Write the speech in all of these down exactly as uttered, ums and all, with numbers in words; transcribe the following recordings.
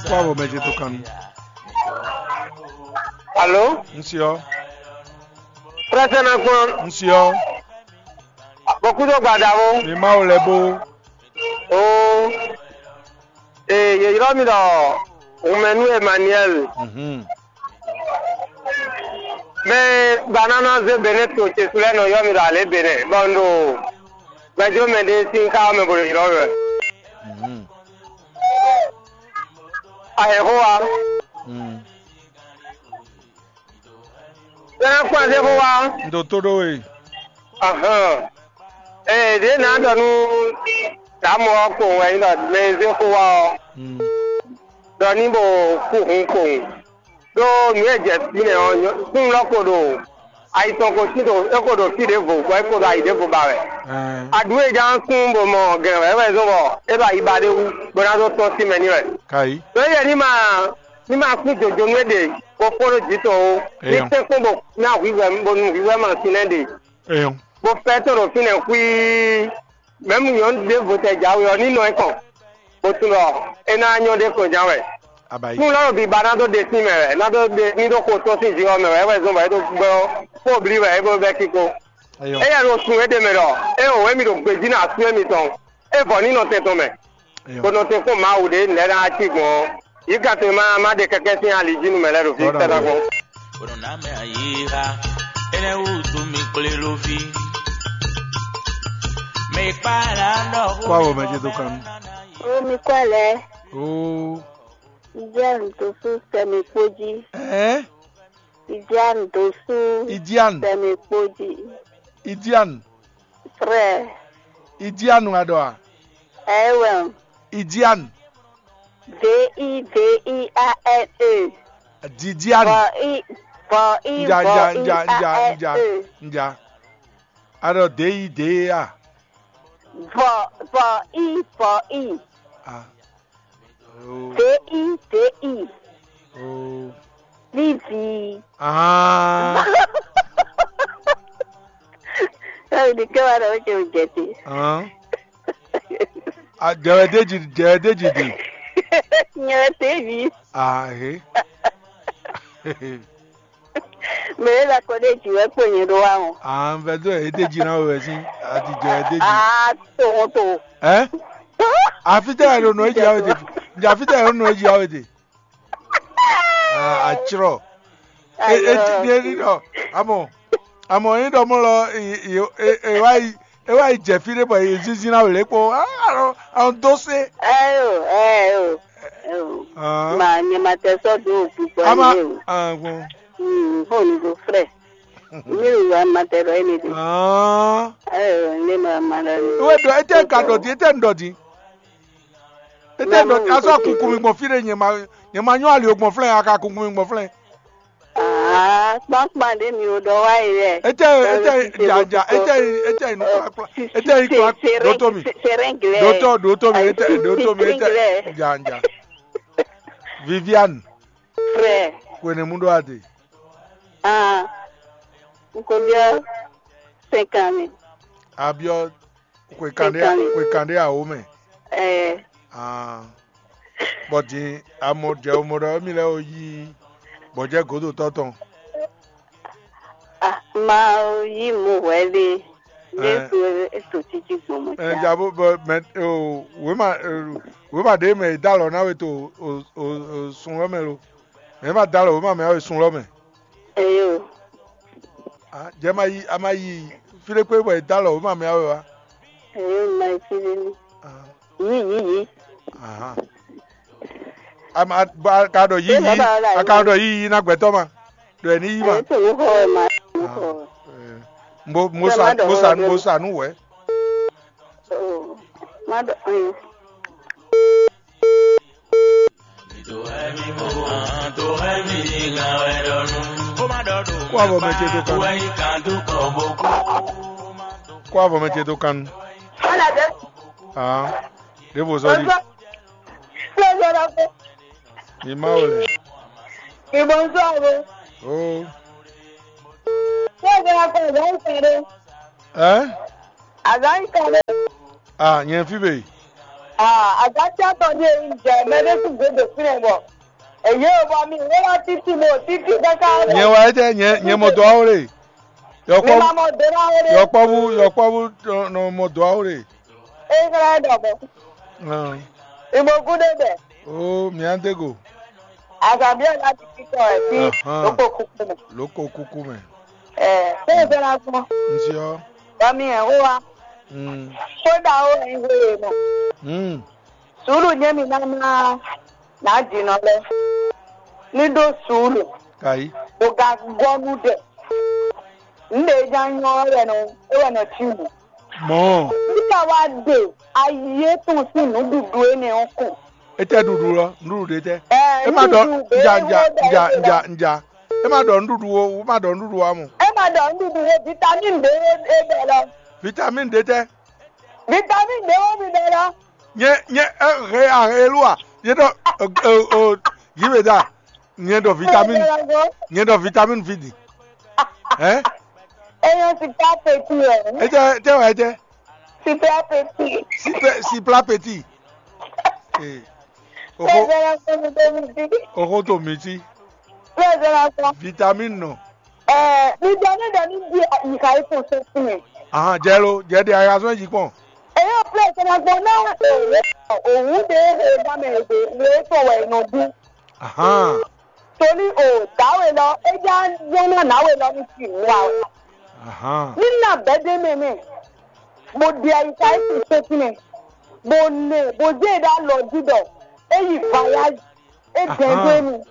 Kó avɔ mɛ ce tó kan nu. Alo? Un se ɔ́. Prɛsɛ na kpɔn. Un se ɔ́. Bɔkútó gbadavo. Mi Mawu lɛ bó. Oo. Ee, yě ylɔ́ mì ɖɔ Hunmɛnú Emmanuel. Mhm. Mɛ gbanáná zé Benɛ́ to ce su lɛ́ɛ nɔ ylɔ́ mì ɖɔ alě Benɛ́, bɔ un ɖo gbɛjó mɛ ɖé sín xá ɔ́ mɛ bo ɖo ylɔ́ mì wɛ. Mhm. Ayɛxó wa. Mm. Bɛ́ ná kpɔ́n azé xó wá. Un ɖo tó ɖó we. Ahán. Ee, ɖě nǎ ɖɔ nú Dǎmɔ ɔ́ kpowun wɛ nyí ɖɔ mɛ e zé xó wá ɔ́, Mm. ɖɔ ní bo kú hun kpowun. Ɖó nǔ e jɛ fínɛ́ ɔ́, kún lɔ́ ko ɖo ayi tɔn ko sín ɖo é ko ɖo fí ɖěvo, bɔ é ko ɖo ayi ɖěvo ba wɛ. Ɛɛ. Aɖǔ e ján kún bo mɔ gɛ̌n wɛ é wɛ zɔ́n bɔ é ɖo ayi ba ɖé wú, bó ná dó tɔ́n sín mɛ n'i wɛ. Kayi. Ɖó yɛ ní ma ní ma kún jǒjó nú é ɖe, bó kpɔ́n ɖó jǐ tɔn ó. Ní Eyɔn. Tɛ́nkpɔ́n bó ná hwǐhwɛ́ bónú hwǐhwɛ́ ma sín lɛ́ ɖe. Eyɔn. Bó fɛ́ tɔn ɖo fínɛ́ xwíí. Mɛ̌mu nyɔ̌nu ɖěvo tɛ jǎwe ɔ́ ní nɔ ɛ kɔn, bó tunwun ɖɔ é ná nyɔ́ ɖě kɔn ján wɛ. Abayi. Nú lɔ́ ɖo biba ná dó ɖe sín mɛ wɛ, ná dó ɖe ní ɖó xo tɔn sín jǐ ɔ́ mɛ wɛ, é wɛ zɔ́n bɔ é ɖo gbɛ ɔ́ kpó blí wɛ é bó bɛ́ kíkó. Eyɔn. Éyɛ́ ɖo sun éɖée mɛ ɖɔ é wǒ émí ɖo gbejí ná asú émitɔn, é vɔ ní nɔ tɛn tɔn mɛ. Eyɔn. Bó nɔ tɛn kpɔ́n Mawu ɖě lɛ̌ ná cí gbɔn ɔ́. Yǐ kan to e ma ma ɖe kɛkɛ́ sín ali jí nú mɛ lɛ́ɛ ɖo fí Bɔ́ ná tɛ́ ná bɛ́. Gbɔn. Kpɔɖɔ ná mɛ ayíha, énɛ́ wútu mi kplé ló ví. Mɛ kpá là ń ɖɔ Kó avɔ mɛ ce dó kan nú. Ó mi kɔ lɛ, Ó, Idiane dó sú sɛmi kpó jí. Ɛ? Idiane dó sú Idiane. Sɛmi kpó jí. Idiane. Frère. Idiane wɛ a ɖɔ a? Ɛ wɛ. Idiane. V I V I A N E. Didiane. Vɔ I vɔ I Nja vɔ nja I nja A nja N nja E. Nja. A ɖɔ D I D E A. Vɔ vɔ I vɔ I. Ah. Oh. D I D I. Oh. Vivi. Ah. Ɛɛ, ɖi kɛ wa ɖɔ wɛ ce o jɛ te. Ah. A jɛ wɛ ɖeji jɛ wɛ ɖeji ɖi. Nyɛ wɛ te vi. Ah he. Mɛ e la kɔ ɖe jǐ wɛ kpo nyɛ ɖó wa o. Ah, un vɛ dó e ɖeji ná wɛ sín. A ti jɛ wɛ ɖeji. Ah, to wọn to. Ɛ? Afi tɛ yɛ ɖo nɔ eji awe te. Nja afi tɛ yɛ ɖo nɔ eji awe te. Ah, atsrɔ. E e ti ɖe ni ɖɔ. Amɔ amɔ yín ɖɔ mɔ lɔ e e e e wa yi e wa yi jɛ fí ɖé bɔ e zinzin na wlé kpó. Ah, alɔ alɔ dó se. Ayo, ayo, ayo. Ah. Ma nyɛ ma tɛ sɔ do gbígbɔ Ama. Ni o. Ah, gbɔn. Hmm, ho ni go frɛ. Mi wu wa ma tɛ ɖɔ ene de. Ah. Ayo, ne ma ma la. Wɛ ɖɔ etɛ ka ɖɔ di etɛ ɖɔ di. Etɛ ɖɔ di asɔ kunkun mi gbɔn fí ɖé nyɛ ma nyɛ ma nyɔ ali o gbɔn flɛ a ka kunkun mi gbɔn flɛ. Ah, kpankpan ɖe mi o ɖɔ wa yi lɛ. Etɛ etɛ ja ja etɛ etɛ yi nukpla kpla etɛ yi kpla doto mi doto doto mi etɛ doto mi etɛ ja ja. Viviane. Frère. Kwenemu ɖo ade. Ah, nkobiɔ sɛnkan mi. Abiɔ xwe kan ɖé xwe kan ɖé awo mɛ. Ɛɛ. Ah. Bɔ din amɔ jɛ o mɔ ɖɔ émi lɛ́ɛ o yí bɔ jɛ godo tɔn tɔn. Ah, ma o yí mo hwɛ ɖe. Ɛ. Ɖe to e to títí gbɔn mo Ɛ ja. Ja bó bɔ mɛ o wema wema ɖe mɛ da lɔ na we to o o o sun lɔ mɛ lo. Mɛ ma da lɔ wema mɛ awe sun lɔ mɛ. Eyo. Ah, jɛ ma yi a ma yi file kpe bɔ e da lɔ wema mɛ awe wa. Eyo ma yi file ni. Ah. Yi yi yi. Aha. A ma ba ka ɖɔ yi yi a ka ɖɔ yi yi na gbɛtɔ ma. Ɖɔ ni yi ma. Eyo to nu xɔ ma. Nu xɔ. Mo mo sa mo sa mo sa nu wɛ. Oh, má ɖɔ. Mm. Kó avɔ mɛ ce dó kan. Kó avɔ mɛ ce dó kan. Ah, ɖěvo sɔ di. Bonjour. Bonjour. Ni ma wele. Oui, bonjour. Oh. Bonjour. Hein? Azan kɛɖe. Ah, nyɛ fi be. Agatsi atɔn ɖíe un jɛ mɛ ɖé sín gbe ɖo fínɛ́ bɔ èyí ò bɔ mi wé lɔ títí mo títí káká. Nyɛ wá étɛ́ nyɛ nyɛ mɔ dɔ́ wá wle. Mi Yɔkpɔ́vú ma mɔ dó ná wé ɖé. Yɔkpɔ́vú yɔkpɔ́vú nɔ mɔ dɔ́ wá wle. Israɛl ɖɔ bɔ. Ìmọ̀gún ɖé bɛ. Ó mìá dé go. Àgbàbí ọ̀la ti kíkọ ẹ̀ sí Ahán. Lóko kúkú mọ̀. Lóko kúkú mɛ. Ẹ̀ ṣé ìfẹ́ la gbọ́n? N ṣe ọ́. Bọ́mí ẹ̀ wó wa. Mm. Kódà ó ẹ̀ ń wéye mọ̀. Mm. Sùúrù nyɛ́ mi ná ná ná jǐnɔ lɛ́ɛ. Ní ɖó sùúrù. Kàyí. Bó ga gɔ́ nú ɖɛ. Nǔɖé já nyɔ́ é wɛ nɔ é wɛ nɔ cí mɔ̌. Mɔ̌. Nígbà wá ɖe ayé tɔn sín nǔɖuɖu énɛ́ ɔ́ kɔn. Étɛ́ ɖuɖu lɔ, nǔɖuɖu ɖé tɛ́. Ɛ É má ɖɔ nja nja nja nja nja. É má ɖɔ nǔɖuɖu ó, é má ɖɔ nǔɖuɖu ǎ mɔ. É má ɖɔ nǔɖuɖu ó, vitamine ɖé é bɛ lɔ. Vitamine ɖé tɛ́. Vitamine ɖé ó mi bɛ lɔ. Nyɛ nyɛ ɛ he a he lu a? Nyɛ ɖɔ ɛ ɛ ɛ yǐ mɛ da. Nyɛ ɖɔ vitamine. Nyɛ ɖɔ vitamine vi di. Hɛn? Eyɔn super petit ɛ. Etɛ etɛ wɛ etɛ. Super petit. Super super petit. Ee. Oxo Sɛgbɛrɛ kɔmi tó mi ti. Oxo to mi ti. Sɛgbɛrɛ kɔ. Vitamine nɔ. Ɛɛ, mi dɔ ne dɔ ni di yi ka yi fún sɛnsin mɛ. Ahan jɛ lo jɛ de ayika sɔn yi kpɔn. Eyɔn plɛ sɛnɛ gbɔn náà òwú òwú de e ba mɛ èdè le tɔ wɛ nɔ dún. Ahan. Torí o dǎwe lɔ é já zɔ́n ná nǎwe lɔ ní fi nǔ wa wɛ. Ahan. Ní nà bɛ́ dé mɛ mɛ, bó ɖe ayika é sin sɛ́n tínmɛ, bó nɛ bó zé e ɖó alɔ jí ɖɔ é yi vayázi, é dɛn dó émi.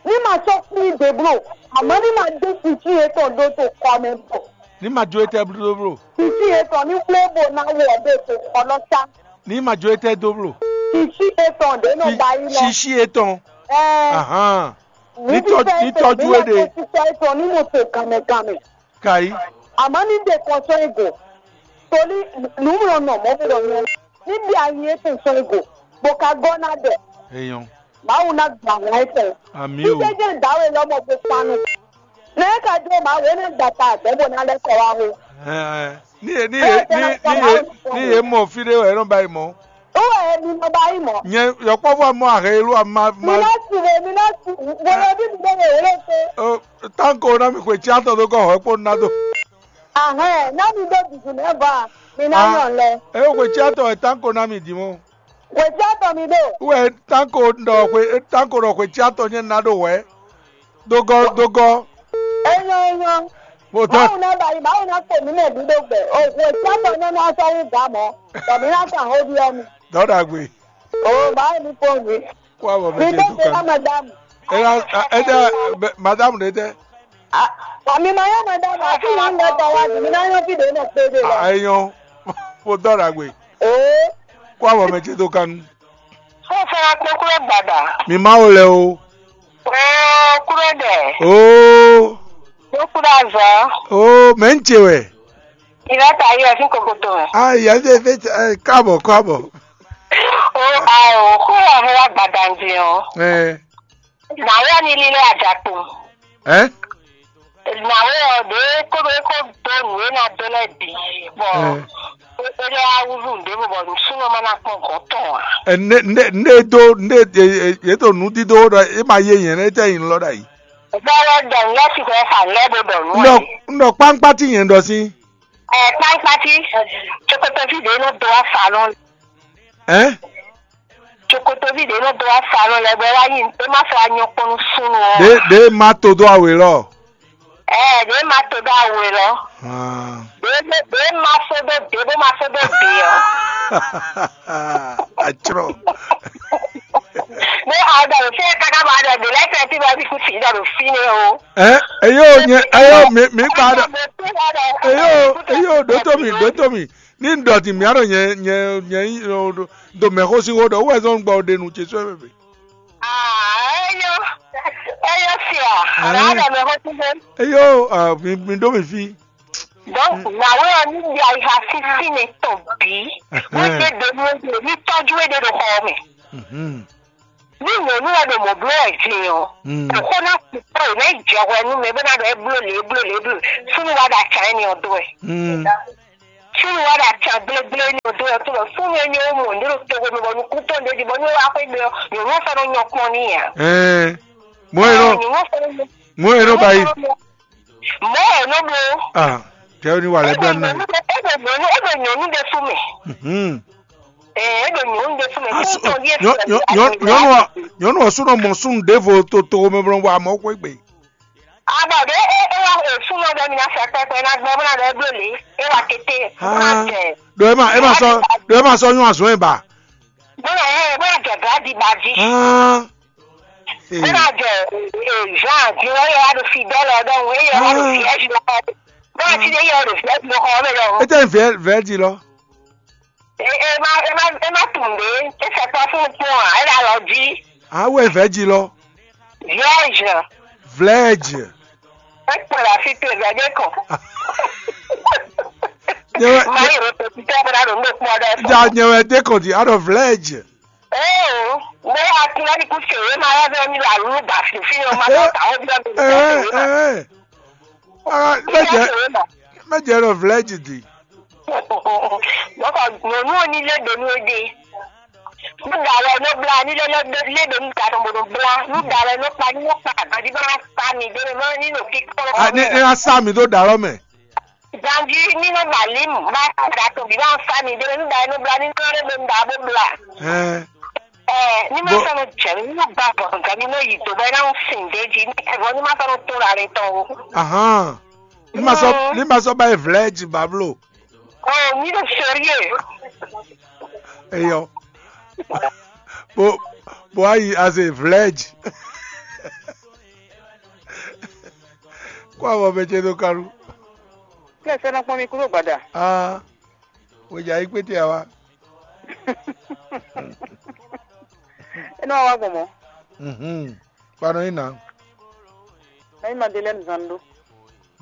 Ní ma sɔ́ kplí ɖě bló, àmọ́ ní ma dó sinsin yětɔn ɖó to kɔ mɛ bɔ Ní ma jó étɛ́ bló bló. Sinsin yětɔn ní wlé bó ná wɔ ɖó to kɔ lɔ sá. Ní ma jó étɛ́ dó bló. Sinsin yětɔn ɖě nɔ ba yí lɔ. Ṣíṣí étɔn. Ɛɛ. Ahán. Ní tɔjú é ɖe. Sísọ ètò ní mo tò gànmẹ̀gànmẹ̀. Kàyí. Àmọ́ ní dè kɔsɔn ìgò. Torí nùmúlò nà mọ́ bó lọ yẹn. Níbi ayé ètò sọ ìgò. Bó ka gọ́ ná dẹ̀. Èèyàn. Màá wù ná gbà wọ́n ètò. Àmì o. Jíjẹ́ jẹ́ ìdáwé lọ́mọ gbé panu. Ní ká dúró màá wé ní gbàtà àgbẹ̀bọ̀ náà lẹ́kọ̀ọ́ wa o. Ẹ, ẹ. Ní e ní e ní ní e ní e mọ̀ fí ɖé wɛ é nɔ ba yi mɔ̌. Ó wɛ mi nɔ ba yi mɔ̌. Nyɛ yɔkpɔ́vú amɔ ahɛ e lú ama Mi ma. Ná si le, mi ná si. Wòlò bí mi lè wòlò pé. Ó, Tanko ná mi xwe tsiátɔ dó kɔ hɔ̌ kpó ná dó. Ahɛn, ná mi ɖó dùdù nɛ́ ba, mi ná Ah. Nyɔ lɛ. É xwe tsiátɔ wɛ Tanko ná mi dì mɔ. Xwe tsiátɔ mi ɖo. Wɛ Tanko ɖɔ xwe Tanko ɖɔ xwe tsiátɔ nyɛ ná ɖo wɛ. Dogɔ dogɔ. Enyɔ enyɔ. Mo tɔ. Mawu ná ba yi, Mawu ná kpɔ mí mɛ ɖu ɖó gbɛ. O xwe tsiátɔ nyɛ ná sɔ wú gǎ mɔ. Bɔ mi ná kan xó byɔ́ mi. Dɔ ɖagbe. O Mawu ní kpɔ́n mi. Kó abɔ mɛ Mi ce tó tó kan. Ná madame. Ela ɛdɛ madame ɖe tɛ. Wa mi ma yɔ madame, a ti yin ɖe tɔ wa di, mi ná yɔ fi ɖe nɔ kpe ɖe lɔ. Ayɔ. Mo dɔ ɖagbe. Oo. Kó abɔ mɛ ce tó kan. Fúnfún akpékúlẹ̀ gbàdà. Mi ma wo lɛ o. Oo kúrò dẹ̀. Oo. Ló kúrò azọ. Oo mɛ ń ce wɛ. Ìlà ta yẹ fún kokoto rẹ̀. Ayi ɛ fẹ́ fẹ́ káàbọ̀ káàbọ̀. O a o kúrò ọ̀hún wa gbàdà ń jẹun. Ẹ. Nǎwe ɔ́ ní lílé ajakpo. Ɛ. Nǎwe ɔ́ ɖě kó ɖó kó dó nǔ e ná dó lɛ́ɛ bǐ bɔ é lɛ́ wá wúzú nǔɖé bɔ nǔsúnnú ɔ́ ma ná kpɔ́n gɔ̌n tɔn ǎ. Ɛ ne ne ne do ne yě to nǔdídó ɖɔ é ma yé yɛn nɛ́ tɛ yin lɔ ɖ'ayǐ. Bɔ wɛ ɖɔ nǔ lɛ́ɛ sixú ɛ fa nǔ lɛ́ɛ bó ɖɔ nǔ ɛ. Nɔ nɔ kpánkpá tí yẹn ɖɔ sí. Ɛ kpánkpá tí tsokotoví ɖě nɔ do wá fa nɔ. Ɛ. Tsokotoví ɖě nɔ dó wá sa nɔ lɛ́ɛ bɔ é wá nyi é má sɔ́ wá nyɔ́ kpɔ́n nú súnnu ɔ́. Ɖě ɖě ma to dó awe lɔ. Ɛɛ ɖě ma to dó awe lɔ. Ɖě ɖě ma só dó ɖě bó ma só dó ɖě ɔ́. Atrɔ. Bó aɖɔ fẹ́ káká bɔ aɖɔ ɖě lɛ́ɛ fẹ́ tí bɔ bí kú sí ɖɔ ɖo fínɛ́ o. Ɛ eyo nyɛ eyo mi mi kpa ɖɔ eyo eyo ɖótó mi ɖótó mi. Ní un ɖɔ din mǐ ɖɔ nyɛ nyɛ nyɛ nyí ɖo mɛxó sín xó ɖɔ wú wɛ zɔ́n gbɔ ɖe nǔ ce sɔ́ mɛ. Eyó eyó sia. Eyó mi mi ɖó mi fí. Donc nàwé ɔ ní di ayiha sísí ne tɔn bí. Wọ́n ṣe dènú ní tọ́jú èdè ɖo xɔ mɛ. Ní nyɔ̌nu wɛ ɖo mɔ̌ bló wɛ din ɔ́, kókó ná kú kpɔ́ ò ná yi jɛ hwɛ nú mɛ bó ná ɖɔ é bló lě é bló lě é bló súnnu wá ɖo acǎ énɛ́ ɔ́ dó wɛ. Súnnu wá ɖo aca gblégblé ní odó ɔ́ tó lɔ súnnu e nyɔ́ mɔ ní ɖo togo mɛ bɔ nukún tɔn ɖ'é jí bɔ ní wá xwé gbe ɔ́, nyɔ̌nu ɔ́ sɔ́ nɔ nyɔ́ kpɔ́n n'i ǎ. Ɛɛ, mɔ̌ e nɔ Ɛɛ, nyɔ̌nu ɔ́ sɔ́ nɔ nyɔ́ mɔ̌ e nɔ ba yi. Mɔ̌ e nɔ bló. Ah, jɛ ní wà lɛ bla nɛ. É ɖo nyɔ̌nu é ɖo nyɔ̌nu ɖé fún mɛ. Mhm. Ɛɛ, é ɖo nyɔ̌nu ɖé fún mɛ. Asu, Kútɔn ɖíe nyɔ- fún nyɔ- mɛ. Nyɔ̌nu ɔ- nyɔ̌nu ɔ́ súnɔ mɔ súnnu ɖěvo to togo mɛ bɔ wa mɔ xwé gbe. Abɔ ɖe e e wa e súnmọ́ ɖe mi na fɛ pɛpɛ na gbɛ bó na ɖe bló lě e wa kété bó na Ah, jɛ ɖo ema ema sɔ ɖo ema sɔ nyɔ azɔn e ba. Bó na yɛ bó na jɛ gadi ba jí. Ah, Bó na eh, jɛ Jean di wɔ yɛ wa ɖo Fidèle ɖɔhun e yɛ wa ɖo Ah. Vierge lɔ bó na ti ɖe yɛ wa ɖo Vierge lɔ xɔ mɛ ɖɔhun. Ete vɛ vɛ di lɔ. E e ma e ma e ma tunde e sɛ kpɔ fún kpɔn a e ɖe alɔ jí. Awe vɛ di lɔ. Vierge. Vlɛdzi. Ekpɔ ɖe asi te vɛ ɖe kɔ. Nyɛwɛ Mayi ro to titɛ bena ɖo ŋɖe kpɔ ɖe fɔ. Ja nyɛwɛ de kɔ di aɖɔ vlɛdzi. Ee, ne akulɛ ni ku se ye ma yɛ vɛ mi la lu ba fi fi yo ma tɔ ta o bi mi ta se ye ma. Ee, ee. Ah, mɛ jɛ mɛ jɛ ɖɔ vlɛdzi di. Bɔkɔ nyɔnu ni le do nu de. Nuɖa wɛ nɔ bla ni lɛ lɛ lɛ ɖo nu ta tɔn bo nɔ bla. Nuɖa wɛ nɔ kpa ni nɔ kpa ganji bɔ na sa mi ɖe nɔ ni nɔ kikɔ. Ah, ni ni na sa mi ɖo ɖalɔ mɛ. Ganji ni nɔ ba lim ba da tɔn bi ba sa mi ɖe nuɖa wɛ nɔ bla ni nɔ lɛ ɖo nu da bo bla. Ɛɛ. Ɛɛ, ni ma Bo- sɔn nɔ jɛ mi ni nɔ ba bɔ ganji nɔ yi do bɛ na sin de ji ni ɛvɔ ni ma sɔn nɔ to la le tɔn o. Ahan. Ni ma sɔ Mm. ni ma sɔ ba ye vlɛ ji bablo. Oh, mi ɖo sérieux. Eyɔ. Bo bo ayi as a vlɛdzi. Kó avɔ mɛ ce ɖo kalu. Kí ẹ fẹ́ ná pọ́n mi kúrò gbàdà. Aa, wòjà yí kpéte àwa. Ẹ náà wá gbọ̀n mọ́. Mhm. Kpanɔ yín nà. Ẹ yín Madeleine Zando.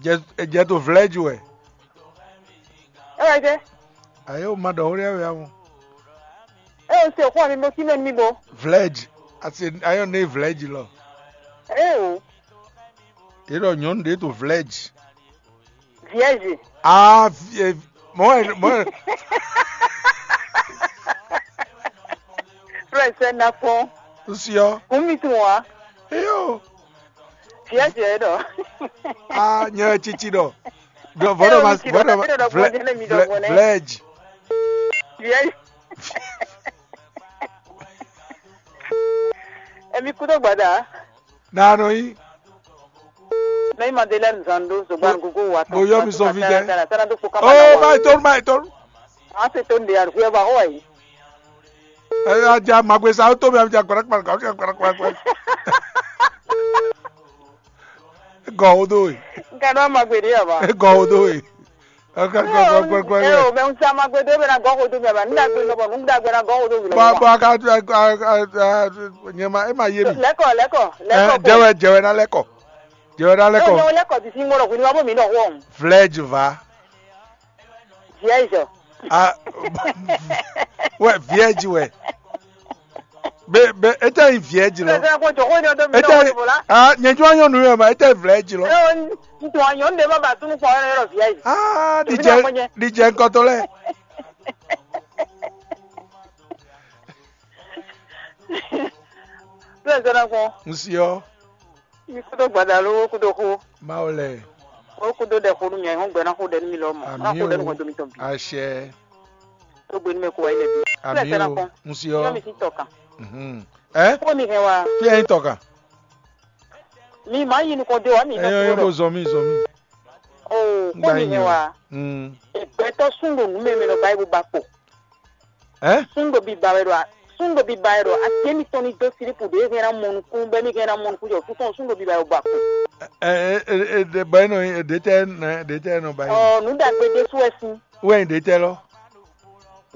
Jɛ jɛ to vlɛdzi wɛ. Ẹ wá jẹ́. Ayé o ma ɖɔ wórí ɛwɛ awo. Ẹ ò ṣe òkú àmì mo kí mẹ́nu mi bo. Vlɛdzi. Asi ayɔ ne vlɛdzi lɔ. Ẹ o. Yé ɖɔ nyɔnu ɖe to vlɛdzi. Vierge. Ah, vie mɔ ɛ mɔ ɛ. Frère, c'est un enfant. Nsiɔ. Kumi tun wa. Eyo. Vierge ɖɔ. Ah, nyɛ tsitsi ɖɔ. Ɖɔ vɔɖɔ ma vɔɖɔ ma vlɛ vlɛ vlɛdzi. Vierge. Emi kúdó gbada. Nanɔ yí. Mɛ ma de lɛ nzan do zogban gogo wa. Mo yɔ mi sɔn fi dɛ. Sana do kpo kaba. Oh, ma yi tɔn, ma yi tɔn. An se to de arugbe ba ho ayi. Ɛ ya ja magbe sa to mi ja gbara gbara gbara gbara gbara. Gɔ o do yi. Nka do magbe de ya ba. Gɔ o do yi. Ɛ o mɛ n sa magbe do bɛ na gɔ ko do mi ba. N da gbe nɔ bɔ n da gbe na gɔ ko do mi. Ba ba ka nyɛma e ma ye mi. Lɛkɔ lɛkɔ lɛkɔ. Jɛwɛ jɛwɛ na lɛkɔ. Jɛwɛ na lɛkɔ. Nyɛ lɛkɔ ti si ŋmɔ dɔ hwenu wa bo mi dɔ wɔn. Vlɛdzi va. Vierge. Ah, wɛ vierge wɛ. Be be ete yi vierge lɔ. Ete yi ah nyɛjɔ nyɔnu yɛ ma ete vlɛdzi lɔ. Ntɔn nyɔnu de ma ba tunu kpɔ yɔrɔ vierge. Ah, dijɛ dijɛ nkɔtɔ lɛ. Tó ɛ zɔn na kpɔn. Nsiɔ. Mi kúdó gbada ló kúdó xó. Mawu lɛ. Ó kúdó ɖɛ xó nú mi, ayǐhɔ́ngbe ná xó ɖɛ nú mi lɔ mɔ. Ná xó ɖɛ nú hwɛndo mitɔn bǐ. Àṣẹ. Tó gbe nú mɛ kó wá ilẹ̀ bí. Àmì o. N si ɔ. Yọ mi sí tɔkan. Mhm. Ɛ? Kó mi hɛn wa. Fi ɛyin tɔkan. Mi ma yi nukɔn dé wa mi. Ɛyɔ yɔ bo zɔn mi zɔn mi. O kó mi hɛn wa. Mm. Ìgbẹ́tọ́ sún ɖo nǔ mɛmɛ lɔ báyìí bó ba kpo. Ɛ? Sún ɖo biba wɛ ɖo a sún ɖo biba wɛ ɖo asi émítɔn ní dó sílípù ɖě hɛn ná mɔ nukún bɔ émí hɛn ná mɔ nukún jɔ fúnfún sún ɖo biba wɛ bɔ akun. Ɛ ɛ ɛ ɛ bɔ é nɔ é ɖě tɛ nɛ ɖě tɛ nɔ ba yé. Ɔ nǔ ɖagbe ɖésú wɛ sín. Wɛ nyi ɖě tɛ lɔ.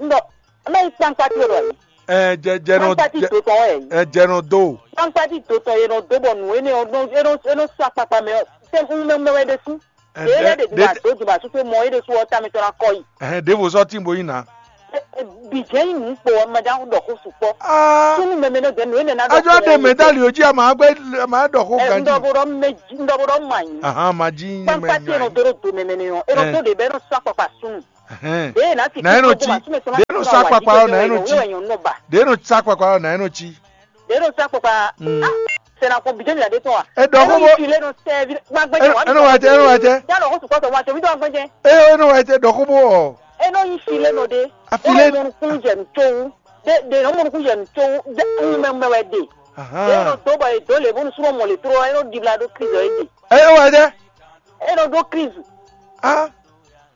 Ŋdɔ ɔmɛ yi kpankpati wɛ ɖo ayi. Ɛ jɛ jɛ nɔ Kpankpati jɛ dotɔ wɛ yi. Ɛ jɛ nɔ do. Kpankpati dotɔ yɛ nɔ do bɔ nù énɛ ɔ nɔ énɔ énɔ sɔ akpakpa mɛ ɔ sɛ ŋmɛŋmɛ wɛ ɖésú. Ɛ Yɛ yɛ ɖe ɖe dìbò àdó dìbò àsúkpé mɔ é ɖésú ɔ tá mi tɔn ná kɔ yi. Ɛhɛn ɖěvo sɔ́ tín bo yí nǎ. Bǐ jɛ́n nyí nǔ kpo ɔ́, mɛ ɖaxó ɖɔ xó sukpɔ́. Ah, súnnu mɛmɛ nɔ dɛn nǔ énɛ́ ná ajɔ ɖe mɛ dali o jí ama gbé ama ɖɔ xó ganji. Ndɔbɔɖɔ mɛ jí ndɔbɔɖɔ ma nyi. Ahan, ma jí nyɛ mɛ kpakpa tí e nɔ nyɔ. Dó ɖo do mɛmɛ nɛ ɔ́, e nɔ dó ɖe bɛ e nɔ sɔ́ akpakpa súnnu. Ɛhɛn. Ɖě e ná ti na e nɔ cí. Ɖě e nɔ sɔ́ akpakpa ɔ́ na e nɔ cí. Ɖě e nɔ sɔ́ akpakpa ɔ́ na e nɔ cí. Ɖě e nɔ sɔ́ akpakpa. Mm. Ah, sɛnakɔ bìjɛ mi la ɖe tɔn wa. E ɖɔ xó bó. Fi lé nɔ sɛ vi ma gbɛjɛ wa. E nɔ wa tɛ e nɔ wa tɛ. Yálò xó sukpɔ́ tɔn wa tɛ mi tɔn gbɛjɛ. E e nɔ wa tɛ ɖɔ xó bó ɔ. E nɔ nyi fi lé nɔ ɖe. Afilé. E nɔ mɔnukun jɛ nutsowu. De de nɔ mɔnukun jɛ nutsowu. De mɛ mɛ wɛ de. Ahan. E nɔ dó bɔ e dó le bónú súnmọ́ mɔ le tró e nɔ dibla ɖó Kristu e de. E o wɛ dɛ. E nɔ dó Kristu. Ah.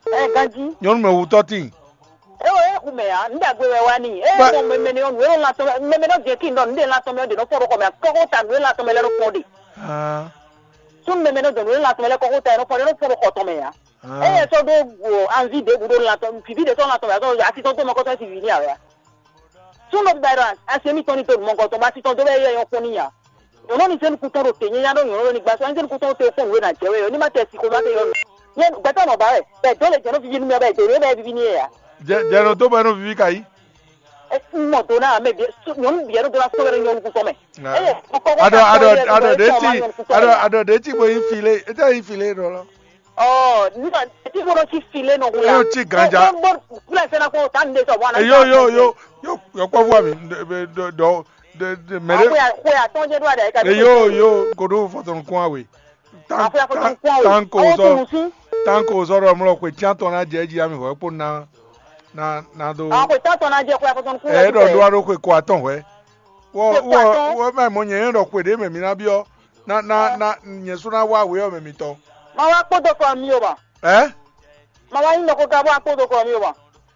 Ɛ ganjí. Nyɔnu mɛ wutɔ tin. E o e xu mɛ ya, n dagbe wɛ wa ni. E Ba- mɔ mɛmɛ ni ɔnu e nɔ lan tɔn mɛ mɛmɛ nɔ jɛ kin dɔ n de lan tɔn mɛ de nɔ fɔ ɖo xɔ mɛ kɔkɔ ta nu e lan tɔn mɛ lɛ nɔ kpɔn de. Ah. Sun mɛmɛ nɔ dɔ nu e lan tɔn mɛ lɛ kɔkɔ ta e nɔ fɔ de nɔ fɔ ɖo xɔ tɔn mɛ ya. Ah. Eye sɔ ɖo anvi ɖěbǔ ɖo lan tɔn vivi ɖe sɔ lan tɔn mɛ asi tɔn to mɔ kɔtɔ si vi ni awɛ. Súnnu bíbá ɖɔ asi émítɔn ní to nǔ mɔgɔtɔn bó asi tɔn dó bɔ é yɔ kpɔ́n n'i ǎ. Nyɔ̌nu ní zé nukúntɔn ɖo tě nyanya ɖó nyɔ̌nu ní gbasɔ ní zé nukúntɔn ɖo te kpɔ́n nǔ e ná jɛ wɛ ɔ́, ní má tɛ si xomɛ ate yɔ́ nɔ. Nyɛ gbɛtɔ́ nɔ ba wɛ, bɔ è dǒ lě jɛ nɔ vivi nú mɛ, bɔ è dě nú mɛ bɔ é viví n'i yɛ ǎ. Jɛ jɛ nɔ dó bɔ é nɔ viví ka yí. Un mɔ do ná mɛ bǐ nyɔ̌nu bǐ wɛ nɔ dó ná sɔ́ wɛ nú nyɔ̌nu nukúntɔn mɛ. Eye kɔkɔ Aɖɔ aɖɔ aɖɔ ɖe ti aɖɔ aɖɔ ɖe ti bo yi fi lé, ete yi fi lé ɖɔ lɔ. Ɔ nígbà tí mo lọ sí filé nɔ wúlò. Yóò tí ganja. Bó bó búlẹ̀ sẹ́nà kó tá ní sọ wọn. Yo yo yo yo yo kpɔ fún mi dɔ dɔ dɔ mɛrɛ. Àpò àpò àtọ́jẹ́ ló wà dà yìí ká. Yo yo kodo fɔtɔn kún awe. Àpò àpò tó kún awe. Tanko sɔ tanko sɔ ɖɔ mlɔ kwe tiatɔ na jɛ dzi ami hɔ kpo na na na do. Àpò ìtàtọ̀ náà jẹ́ kó àpò tó kún awe. Ɛ ɖɔ do aro kwe kó atɔn hwɛ. Wɔ wɔ wɔ mɛ mɔ nyɛ yɛn ɖɔ xwe ɖe mɛ mi na biɔ na na na nyɛ su na wa we ɔ mɛ mitɔn. Ma wá kpódó kɔ mi o ma. Ɛ. Ma wá nyí nɔ kó ká bó wá kpódó kɔ mi o ma.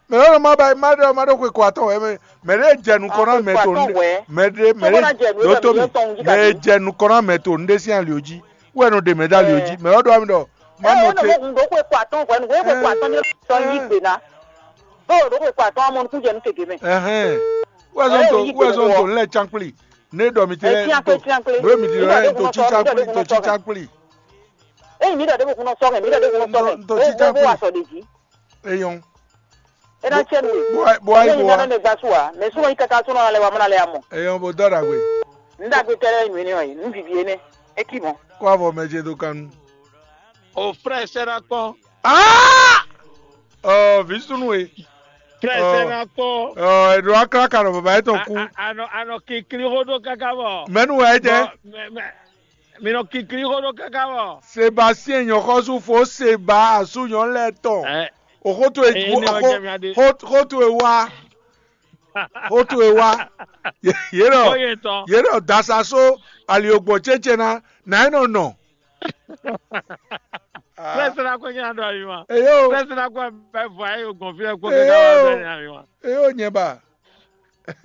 Mɛ lɔ ma ba ma ɖe ma ɖo xwe kɔ atɔn wɛ mɛ mɛ ɖe jɛ nukɔ na mɛ to nu mɛ ɖe mɛ ɖe do to mi mɛ jɛ nukɔ na mɛ to nu ɖe sin ali o ji wɛ no ɖe mɛ da ali o ji mɛ lɔ do ami ɖɔ ma nɔ te. Ɛ ɛ nɔ mo kun ɖo xwe kɔ atɔn wɛ nu wɛ xwe kɔ atɔn mi tɔn yi gbe na. Bó o ɖo xwe kɔ atɔn amɔ nukun jɛ nu tege mɛ. Ɛhɛn. Wɛ zɔn to wɛ zɔn to lɛ cankpli. Ne ɖɔ mi te lɛ to nue mi di lɛ to tsi tsankpli to tsi tsankpli. Eyi mi ɖɔ ɖe mo kun nɔ sɔ mɛ mi ɖɔ ɖe mo kun nɔ sɔ mɛ. To tsi tsankpli. Eyɔn. E na tse nu. Bo ayi bo ayi bo wa. Ne gba su wa mɛ suma yi kaka sɔnɔ alɛ wa mɔ alɛ amɔ. Eyɔn bo dɔ ɖagbe. N dagbe tɛ lɛ nu ene ɔyi n vivi ene. Eki mɔ. Kó avɔ mɛ ce do kanu. O frɛ sɛ na kpɔn. Aa. Ɔ vi sunu e. Frɛ sɛ na kpɔn. Ɔ eɖo akla ka nɔ baba etɔn ku. Anɔ anɔ kikli xó ɖó káká bɔ. Mɛnu wɛ jɛ. Mɛ mɛ mi nɔ kikli xó ɖó káká bɔ. Sebastien nyɔxɔsu fo seba asu nyɔ lɛ tɔn. Ɛ. O xóto e Ee, ne wɔ jɛ mi ade. Xóto e wa. Xóto e wa. Yé nɔ Oye tɔn. Yé nɔ dasaso ali ogbɔn tsɛtsɛ na na e nɔ nɔ. Presse la ko nya ɖɔ ayi ma. Eyo. Presse la ko bɛ vɔ ayi o gbɔn fi lɛ ko kɛ ka wa bɛ nya ayi ma. Eyo nyɛ ba.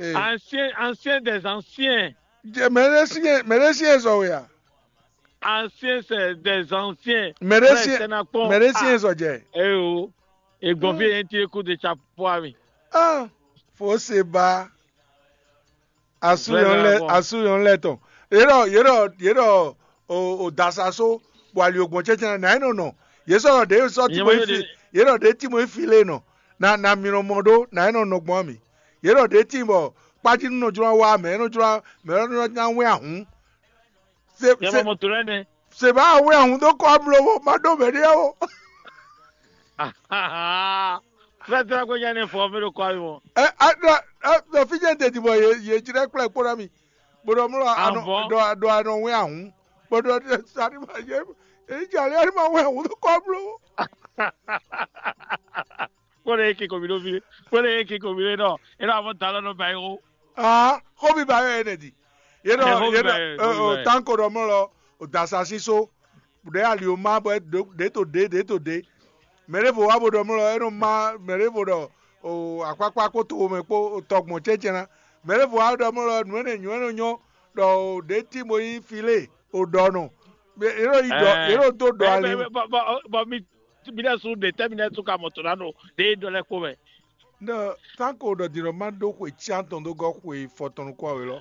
Ancien ancien des anciens. Mɛ ɖe si mɛ ɖe si zɔ wɛ a. Ancien c'est des anciens. Mɛ ɖe si mɛ ɖe si zɔ jɛ. Eyo. Egbɔn fi yẹn ti eku de chapeau ami. Ah, fo se ba. Asuyɔn lɛ asuyɔn lɛ tɔn. Yɛrɛ yɛrɛ yɛrɛ o o dasaso bɔ ali ogbɔn tsɛtsɛ na yɛn nɔ nɔ. Yɛ sɔ ɖe sɔ ti mo fi yɛrɛ ɖe ti mo fi le nɔ. Na na mi nɔ mɔ ɖo na yɛn nɔ nɔ gbɔn mi. Yɛrɛ ɖe ti bɔ kpaji nɔ jlɔ wa mɛ nɔ jlɔ mɛ nɔ na wɛn ahun. Se se se ba wɛn ahun dó kɔ amlo wo ma ɖo mɛ ɖe o. Fɛtɛ ko nya ne fɔ mi ɖo kɔ ayi mɔ. Ɛ a ɖɔ a ɖɔ fi jɛ dede bɔ ye ye dzi ɖe kplɛ kpó ɖɔ mi. Bó ɖɔ mlɔ anɔ ɖɔ ɖɔ anɔ wɛn ahun. Bó ɖɔ sari ma ye ye dzi ali ali ma wɛn ahun dó kɔ amlo wo. Kpɔ́n ɖe eke kɔmi ɖo fi ɖe. Kpɔ́n ɖe eke kɔmi ɖe nɔ. E nɔ avɔ da lɔ nɔ ba yi xo. Aa, xó mi ba yɔ yɛ nɛ di. Yɛ nɔ yɛ nɔ tanko ɖɔ mɔ lɔ o da sa si so. Ɖe ali o ma bɔ ɖe to ɖe ɖe to ɖe. Mɛ ɖe vo wa bo ɖɔ mɔ lɔ e nɔ ma mɛ ɖe vo ɖɔ o akpakpa kpo to mɛ kpo tɔgbɔn cɛncɛn na. Mɛ ɖe vo wa ɖɔ mɔ lɔ nǔ ɛnɛ nyɔ ɛnɛ nyɔ ɖɔ o ɖe ti mo yi fi lé o ɖɔ nɔ. Yɛ nɔ yi ɖɔ yɛ nɔ do ɖɔ ali. Bɔ mi mi ɖe su ɖe tɛ mi ɖe su ka mɔ to na ɖo ɖe ɖɔ lɛ kpo mɛ. Ne tanko ɖɔ din ɖɔ ma ɖó xwe cyantɔn dó gɔ́ xwe fɔtɔn nukún awe lɔ.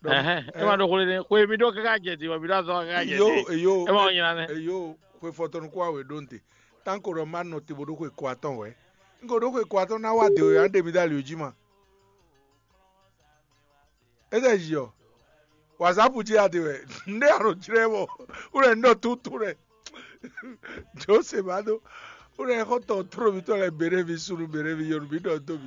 Ɛhɛn, e ma ɖo xwe ne xwe mi ɖo kaka jɛ din bɔ mi ɖo azɔ kaka jɛ din. Eyo eyo e ma nyina ne. Eyo xwe fɔtɔn nukún awe ɖo nte. Tanko ɖɔ ma nɔ te bo ɖó xwe kɔ atɔn wɛ. Un ko ɖó xwe ko atɔ́ ná wá dě wɛ, á ɖe mi dó ali jí ma. É sɛ yi ɔ, whatsapp jí a ɖe wɛ. Nɖé a nɔ jlɛ́ mɔ wúlɛ un ɖɔ túntún lɛ. Jose ma ɖó wúlɛ xɔtɔn tró mitɔn lɛ běɖé mi sunu běɖé mi yɔnu mi ɖɔ dó mi.